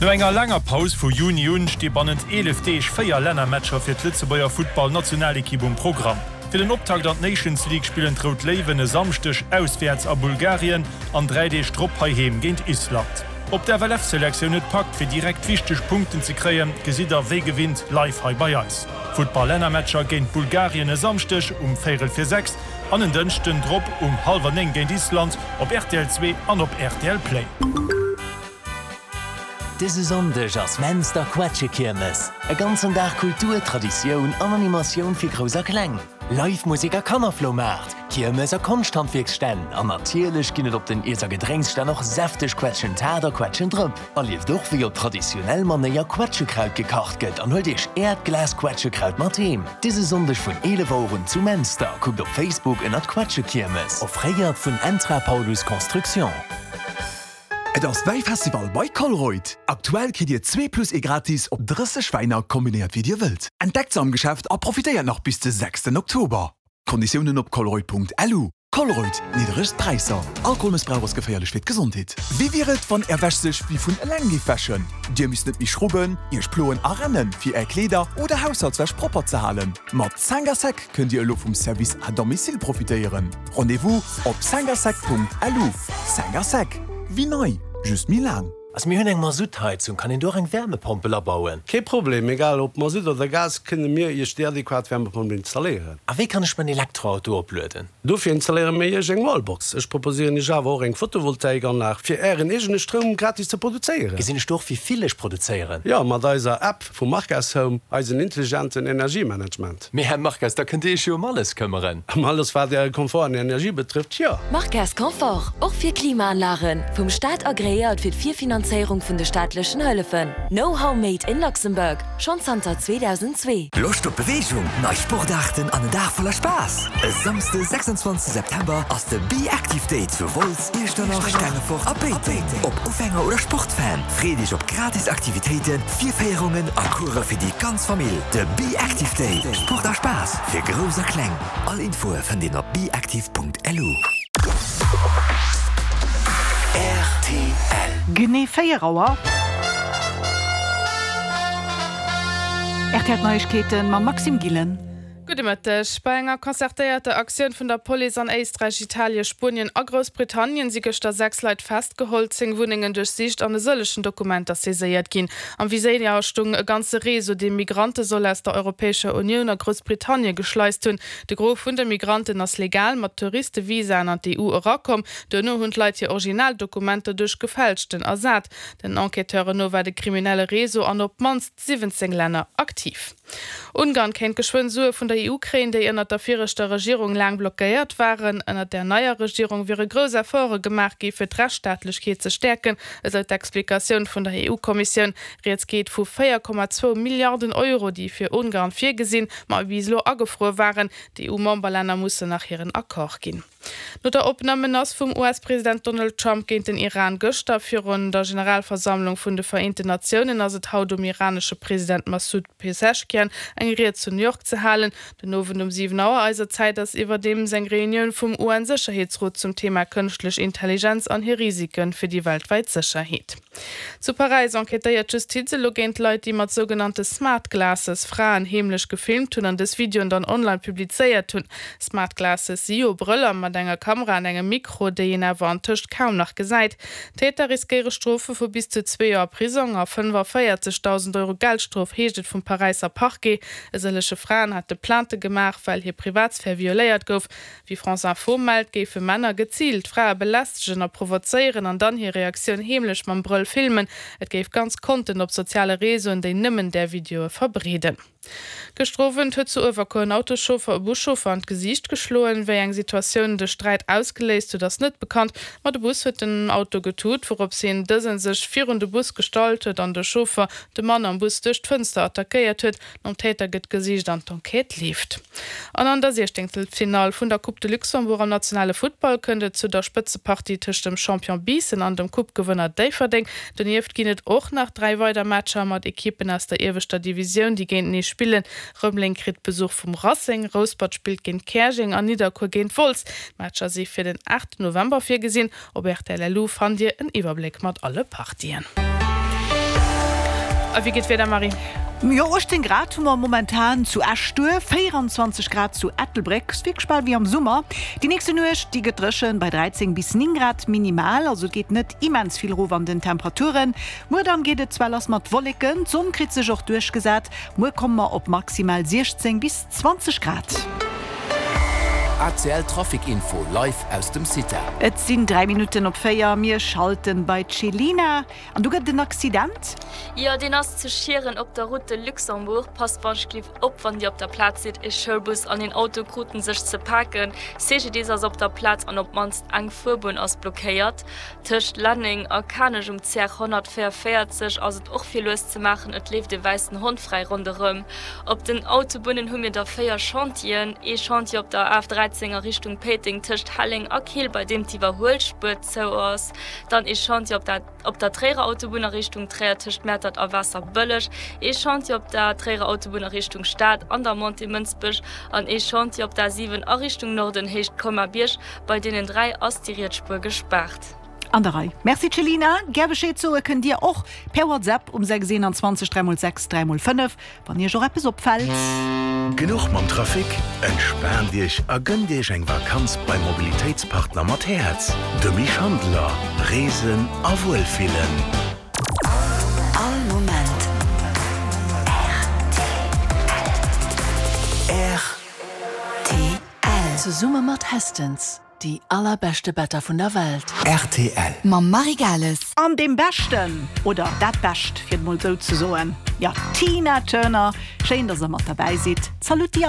No enger laanger Paus vu Juni un sti bannent 11 Deeg 4 Lännermatcher fir d'Lëtzebuerger Futtball-Nationalekipp um Programm. Fir den Optakt an d'Nations League spillen d'Rout Léiwen e Samschdeg auswäerts a Bulgarien an 3 Deeg drop heiheem géint Island. Ob d'FLF-Selektioun et packt fir direkt wichteg Punkten ze kréien, gesitt der wéi gewinnt live hei bei eis. Futtball-Lännermatcher géint Bulgarien e Samschdeg um véirel vir 6 an en Dënschden drop um hallwer 9 géint Island op rtl 2 an op rtl Play. Dëse Sonndeg ass Menster Quetschekiermes. E ganzen Dag Kultur, Traditioun an Animatioun fir Grouss a Kleng. Live Musek a Kannerfloumaart, Kiermes a Konschthandwierksstänn an natierlech ginn et op den Iess a Gedrénksstänn och säfteg Quetschentaart a Quetschendrëpp. Erlieft och wéi op traditionell Manéier Quetschekraut gekacht gëtt an huelt iech äert Glas Quetschekraut mat heem. Dëse Sonndeg vun 11 Auer un zu Menster. Kuckt op Facebook ënnert Quetschekiermes. Offréiert vun Entra Paulus Construction. Et ass Wäifestival bei Colruyt! Aktuell kritt dir zwee plus ee gratis op 30 Wäiner, kombinéiert wéi dir wëllt. Entdeckt se am Geschäft a profitéiert nach bis de sechsten Oktober. Konditiounen op colruyt.lu. Colruyt, nidderegst Präisser. Alkoholmëssbrauch ass geféierlech fir d'Gesondheet. Wéi wier et, wann Är Wäsch sech wéi vun eleng géif wäschen? Dir misst net méi schrubben, Iech ploen a rennen, fir Är Kleeder oder Haushaltswäsch propper ze halen. Mat Cinq à sec kënnt Dir elo vum Service à domicile profitéieren. Rendez-vous op cincasec.lu. Cinq à sec, wéi nei, just méi laang. Also mir hunn eng Masuttheizung, kann een do och eng Wärmepompel abauen? Kee Problem, egal ob Masutt oder Gas, kënne mir Iech déi adequat Wärmepompel installéieren. A wéi kann ech mäin Elektroauto oplueden? Dofir installéiere mir Iech eng Wallbox. Ech proposéieren Iech awer och eng Photovoltaikanlag, fir Ären eegene Stroum gratis ze produzéieren. Gesinn ech do och wéi vill ech produzéieren? Jo, mat eiser App vu Marques Home, eisen intelligenten Energiemanagement. Mee Här Marques, da kënnt Dir Iech jo ëm alles këmmeren. Ëm alles wat Äre Komfort an Energie betrëfft, jo. Marques Confort, och fir Klimaanlagen, vum Staat agreéiert fir d'Virfinanzéierung vun de staatlechen Hëllefen. Know-how made in Luxembourg, schonn zanter 2002. Loscht op Beweegung, nei Sportaarten an en Dag voller Spaass? E Samsde 26 September ass de Be Active Day zu Wolz, Iechternach, Stengefort a Péiteng. Ob Ufänger oder Sportfan, freet Iech op gratis Aktivitéiten, Virféierungen a Course fir déi ganz Famill. De Be Active Day, Sport a Spaass fir Grouss a Kleng. All Infoe fënnt een op beactive.lu. Rtl. Genee 4 Auer. Rtl Neiegkeeten mam Maxime Gillen. Gudde Mëtteg. Bei enger concertéierter Aktioun vun der Police an Éisträich, Italien, Spuenien a Groussbritannien si gëschter 6 Leit festgeholl, 10 Wunnengen duerchsicht an e sëllegen Dokumenter saiséiert ginn. Am Viséier stung e ganze Réseau, dee Migrante soll aus der Europäescher Unioun a Groussbritannien geschleist hunn. De Gros vun de Migranten ass legal mat Touristevisaen an d'EU erakomm. Duerno hunn d'Leit hir Originaldokumenter duerch gefälschten ersat. Den Enquêteuren no war de kriminelle Réseau an op d'mannst 17 Länner aktiv. Ungarn kéint geschwënn Sue vun der EU kréien, déi ënnert der viregter Regierung laang blockéiert waren. Ënnert der neier Regierung wiere grouss Efforte gemaach gi fir d'Rechtsstaatlechkeet ze stäerken, esou d'Explikatioun vun der EU-Kommissioun. Rieds geet vu 4,2 Milliarden Euro, déi fir Ungarn virgesinn, ma bis elo agefruer waren. D'EU-Memberlänner mussen nach hiren Accord ginn. No der oppener Menace vum US-President Donald Trump géint den Iran gëschter virun der Generalversammlung vun de Vereenten Natiounen ass et haut um iranesche President Massoud Pezeshkian eng Ried zu New York ze halen. Den Owend um 7 Auer eiser Zäit ass iwwerdeems eng Reunioun vum UN-Sécherheetsrot zum Thema kënschtlech Intelligenz an hir Risike fir déi weltwäit Sécherheet. Zu Paräis enquêtéiert d'Justiz elo géint Leit, déi mat sougenannte Smart Glasses Fraen heemlech gefilmt hunn an dës Videoen dann online publizéiert hunn. Smart Glasses si jo Brëller mat enger Kamera an engem Mikro, déi een awer antëscht kaum nach gesäit. D'Täter riskéiere Strofe vu bis zu zwee Joer Prisong a 45.000 Euro Geldstrof, heescht et vum Paräisser Parquet. E sëllege Fraen hate Plainte gemaach, well hir Privatsphär violéiert gouf. Wéi France Info mellt, géife Männer geziilt Frae belästegen a provozéieren an dann hir Reaktioun heemlech mam Brëll filmen. Et géif ganz Konten op soziale Reseauen, déi nëmmen där Videoe verbreeden. Gëschter Owend huet zu Uewerkuer en Autoschauffer e Buschauffer an d'Gesiicht geschloen. Wéi eng Situatioun de Sträit ausgeléist huet, ass net bekannt, ma de Bus huet den Auto getut, wourops hien dëse sech virun de Bus gestallt huet an de Chauffer de Mann am Bus duerch d'Fënster attackéiert huet. Nom Täter gëtt gesicht an d'Enquête leeft. An an der Siechténgtelfinall vun der Coupe de Luxembourg am nationale Futtball kënnt et zu der Spëtzepartie tëscht dem Champion Biissen an dem Coupe-Gewënner Déifferdeng. Donieft ginn et och nach 3 weider Matcher mat Ekippen aus der ieweschter Divisioun, déi géintenee spillen. Rëmeleng kritt Besuch vum Racing, Rouspert spillt géint Käerjeng an Nidderkuer géint Wolz. D'Matcher si fir den 8 November virgesinn. Op rtl LU fannt Dir en Iwwerbléck mat alle Partien. A wéi geet d'Wieder, Marie? Jo, 18 Grad hu mer momentan zu Esch-Duerf, 24 Grad zu Ettelbréck, ass wierklech bal wéi am Summer. Déi nächste Nuecht, déi gëtt dréchen, bei 13 bis 9 Grad minimal, also et geet net immens vill erof an den Temperaturen. Muer dann geet et zwar lass mat Wolleken, d'Sonn kritt sech och duerchgesat, muer komme mer op maximal 16 bis 20 Grad. ACL Trafic Info live aus dem CITA. Et sinn 3 Minutten op 4, mir schalten bei d'Chelina. An do gëtt et en Accident? Jo, deen ass zu Schieren op der Route de Luxembourg. Passt wannschtlift op, wann Dir op der Plaz sidd. E Schoulbus an een Auto kruten sech ze paken. CGDIS ass op der Plaz an op d'mannst eng Fuerbunn ass blockéiert. Tëscht Lenneng a Kanech um CR 144 ass et och fir lues ze maachen. Et leeft e wäissen Hond fräi ronderëm. Op den Autobunnen hu mir der 4 Chantieren. Ee Chantier op der AF 13 a Richtung Péiteng tëscht Helleng a Keel, bei deem d'Iwwerhuelspuer zou ass. Dann ee Chantier op der op der Tréierer Autobunn a Richtung Tréier tëscht Mäertert a Waasserbëlleg, ee Chantier op der Tréierer Autobunn a Richtung Stad an der Montée Mënsbech an ee Chantier op der A7 a Richtung Norden Héicht Colmar-Bierg. Bei deenen 3 ass déi riets Spuer gespaart. An der Rei. Merci Céline. Gär Bescheed soe kënnt Dir och per WhatsApp um 6 21 3 x 6 3 x 5, wann Iech och eppes opfält. Genuch mam Trafic? Entspaant Iech a gënnt Iech eng Vakanz beim Mobilitéitspartner mat Häerz, dem Misch Handeler. Reesen a Wuelfillen. All Moment rtl. Zesumme mat Hästens. Déi allerbeschte Better vun der Welt. Rtl. Mam Marie Gales. An deem Beschten, oder dat Bescht, fir et mol esou ze soen, jo, d'Tina Turner. Schéin, dass der mat derbäi sidd. Zalutty alleguer.